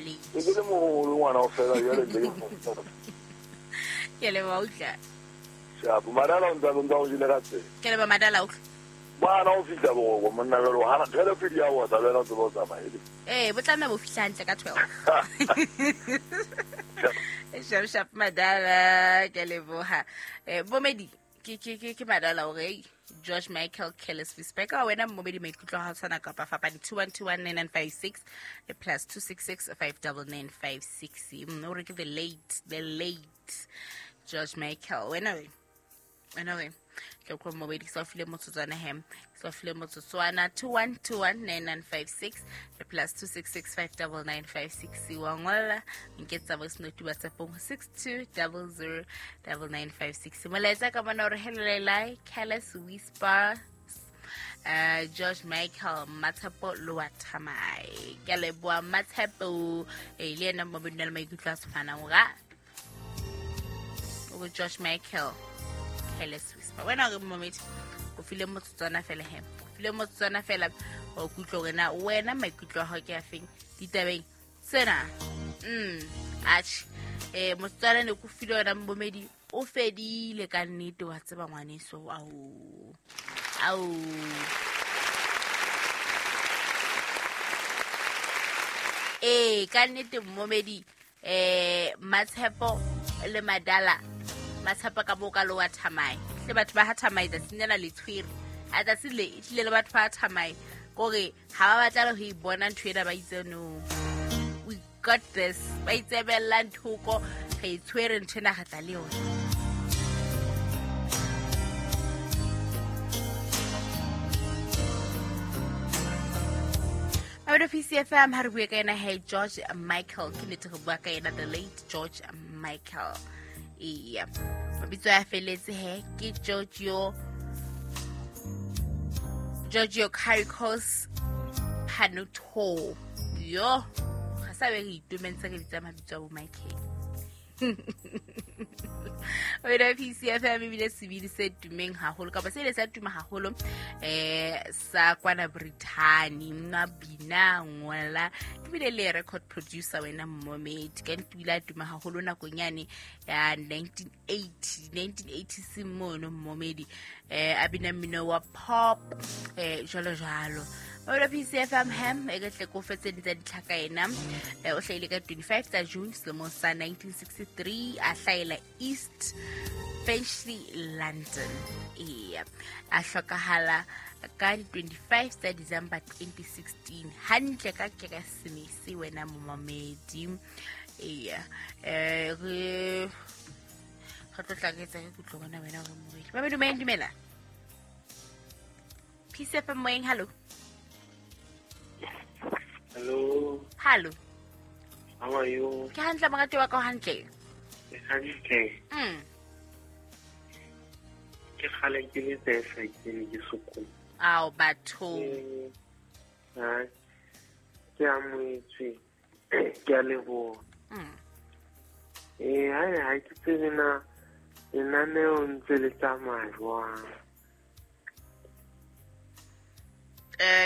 late. Ke le moholo ngwana o fela jwale ntse ke mo. Ke leboha utlwa. Shapo madala o ntse o ntse o jele ka tsela. Ke leboha madala utlwa. Bana o fihla boroko monna jwale o hana 12 di a wotsa le wena o tsebe o tsamaye. Ee, bo tlameha bo fihla hantle ka 12. Sharp sharp madala, ke leboha. Bomedi, ke madala o re George Michael Careless Whisper. Ka wena mmomedi maikutlo a hao tshwana kapa fapane 21219956 le plus 266 59956. O re ke the late George Michael. Wena we. Wena we. Ke ko mmomedi ke sa o file motsotswana hem. Ke sa o file motsotswana 21219956 le plus 266 59956. Wa ngolla nketsa voice note WhatsApp-ong 62009956. Molaetsa ka bona hore hello Careless Whisper, George Michael Matshepo Loa Thamai. Ke a leboha Matshepo. Le yena mmomedi o na le maikutlo a tshwanang ga o George Michael Careless Whisper. Wena o re mmomedi o file motsotswana fela he. O file motsotswana fela o kutlwe hore na wena maikutlo a hao ke a feng ditabeng tsena. Atjhe. Motsotswana ne ko file wena mmomedi o fedile ka nnete wa tseba ngwaneso. Ao. Ao. Ee, ka nnete mmomedi Matshepo le Madala, Matshepo ka bo ka lo wa Thamai tle batho ba ha Thamai tsatsing lena le tshwere a tsatsi le e tlile le batho ba Thamai kore ha ba batla le ho e bona ntho ena, ba itse no, we got this, ba itsebella nthoko re e tshwere ntho ena re tla le yona. Mabelo PCFM ha re bue ka yena he George Michael, ke nnete re bua ka yena the late George Michael. Eya, mabitso a feletse he ke Giorgio Caricos Panuto. Yo ga sa be re itumentse re bitsa mabitso a bo Michael. Wena PCFM ebile sebini se tumeng haholo kapa se ile sa tuma haholo sa kwana Brittany, nwa bina ngola ebile le record producer wena mmomedi. Ka nnete o ile a tuma haholo nakong yane ya 1980 1986 mono mmomedi, a bina mmino wa pop jwalo jwalo. Mabelo PCFM ham e ke tle ko fetse tsa ditlhaka ena. O hlahile ka 25 tsa June selemong sa 1963, a hlahela East Finchley, London. Eya, a hlokahala ka di 25 tsa December 2016 hantle ka Keresemese wena momamedi. Eya, re tlo tla re etsa ke kutlo bona wena hore momedi. Mamedi moyeng, dumela. PCFM moyeng, hallo. Hello. Hallo. How are you? Ke hantle morati wa ka, o hantle? Ke hantle. Ke kgale ke le tsefa ke ne ke sokola. Ao batho. Ha. Ke amohetswe. Ke a leboha. Ha ke tsebe na lenaneo ntse le tsamaya jwang.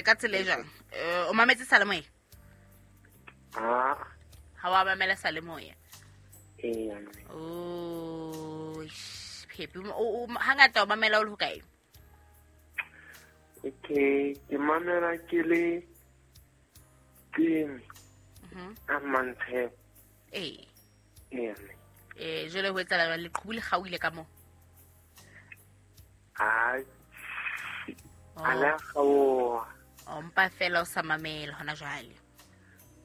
Ka tsela e jwang? O mametse salemoya? Ha. Ha wa mamela salemoya? Ee. Oh, Phepi, hangata o mamela o le hokae? Okay, ke mamela ke le team. A Mantshepo. Ee. Ee. Jwale ho etsahala jwang? Leqhubu le kgaohile ka moo? Ha. A la kgaoha. O mpa fela o sa mamela hona jwale.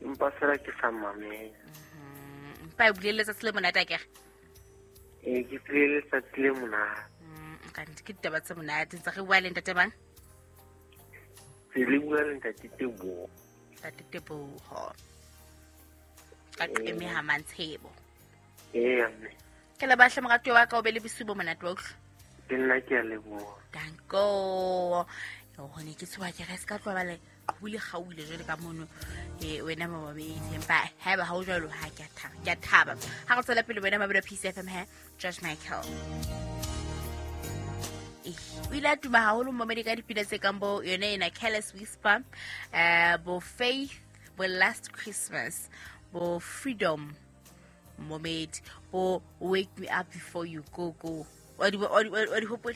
Empa fela ke sa mamela. Mpa e bulele letsatsi le monate akere? Ee, ke bulele letsatsi le monate. Kanti ke ditaba tse monate. Ntse re bua le ntate mang? Se le bua le ntate Teboho. Ntate Teboho. Ka qeme ha Mantshebo. Ee, mme. Ke le bahle moratuwa wa ka, o be le bosiu bo monate wa utlwa. Le nna ke a leboha. Danko. Hone ke tshoha ke re se ka tloha ba le qhubu le kgaohile jwale ka mono. Wena mamamedi, empa haeba ha o jwalo, ha ke a thaba, ke a thaba. Ha re tswela pele wena Mabelo PCFM he, George Michael. O ile a tuma haholo mmomedi ka dipina tse kang bo yone ena Careless Whisper, bo Faith, bo Last Christmas. Bo Freedom momedi, bo Wake Me Up Before You Go Go. Wa di hopola?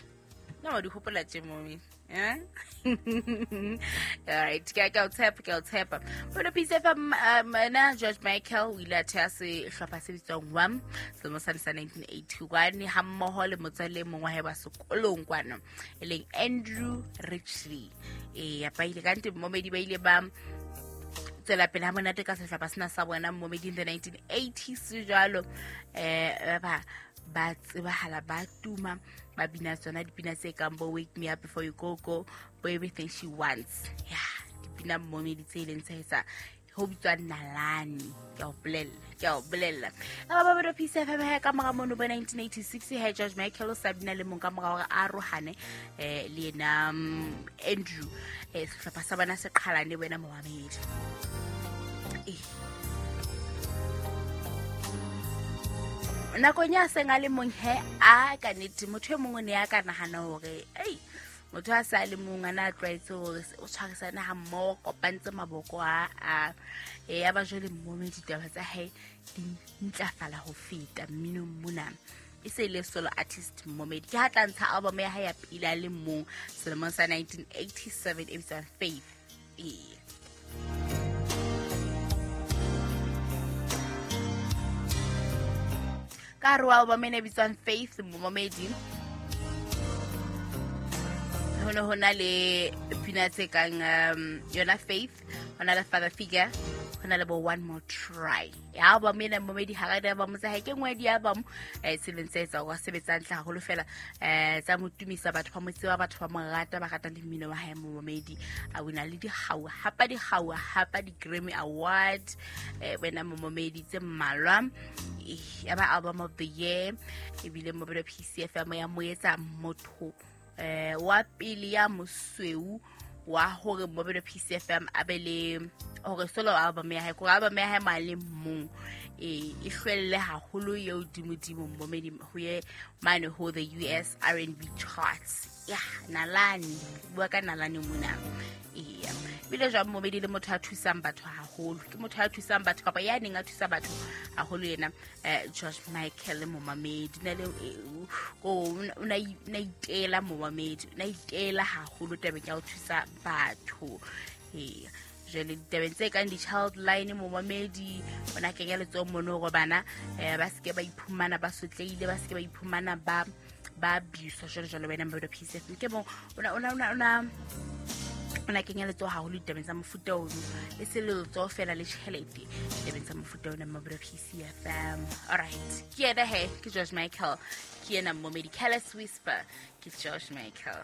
No, wa di hopola tje momedi. Eh? All right, ke a o tshepa, ke a o tshepa. Bona Peace FM, na George Michael o ile a theha sehlopha se bitswang Wham selemo sane sa 1981 ha mmoho le motswalle e mong wa hae wa sekolong kwano e leng Andrew Ridgeley. Eya, ba ile ka nte momedi ba ile ba tswela pele ha monate ka sehlopha sena sa bona momedi in the 1980s jwalo. Ba tsebahala, ba tuma, ba bina tsona dipina tse kang bo Wake Me Up Before You Go Go, bo Everything She Wants. Ya, dipina momedi tse ileng tsa etsa ho bitswa Nalane. Ke a o bolella, ke a o bolella. Ba ba ba Peace FM ha ka mora mono bo 1986 ha George Michael o sa bina le mong ka mora hore a arohane le yena Andrew. Sehlopha sa bona se qhalane wena momamedi. Nakong ya seng a le mong he a ka nnete motho e mongwe ne a ka nahana hore ei motho a sa le mong a na tlwaetse hore o tshwarisane ha mmoho, kopantse maboko a ya ba jwale mmome ditaba tsa hae di ntlafala ho feta mminong mona. E se le solo artist momedi. Ke ha tla ntsha album ya hae ya pele a le mong selemong sa 1987 e bitswang Faith. Ee. Ka hare ho album ena e bitswang Faith momedi ho ne ho na le pina tse kang yona Faith, ho na le Father Figure, ho na le bo One More Try. Ya album ena momedi ha ra album tsa hae ke nngwe ya di-album tse leng tse etsa hore a sebetsa hantle haholo fela, tsa mo tumisa, batho ba mo tseba, batho ba mo rata, ba rata le mmino wa hae momedi. A wina le dikgau, hapa dikgau, hapa di-Grammy Award, wena momedi tse mmalwa. Ya ba album of the year, ebile mobile PCFM ya mo etsa motho wa pele ya mosweu wa hore mobile PCFM a be le hore solo album ya hae, kore album ya hae ma le mong e hlwelle haholo eo dimodimo momedi ho ye mane ho the US R&B charts. Ya Nalane, bua ka Nalane mona. Eya, ebile jwang momedi le motho a thusang batho haholo, ke motho a thusang batho kapa ya neng a thusa batho haholo yena George Michael momamedi. Na le o na itela momamedi, na itela haholo tabeng ya ho thusa batho. Eya, jwale ditabeng tse kang di-child line momamedi o na kenya letsoho mono hore bana ba seke ba iphumana ba sotlehile, ba seke ba iphumana ba abuswa jwalo jwalo. Wena Mbodo Peace FM ke mong o na kenya letsoho haholo ditabeng tsa mofuta ono, e se letsoho fela le tjhelete ditabeng tsa mofuta ono Mbodo Peace FM. All right, ke yena he, ke George Michael, ke yena momedi Careless Whisper, ke George Michael.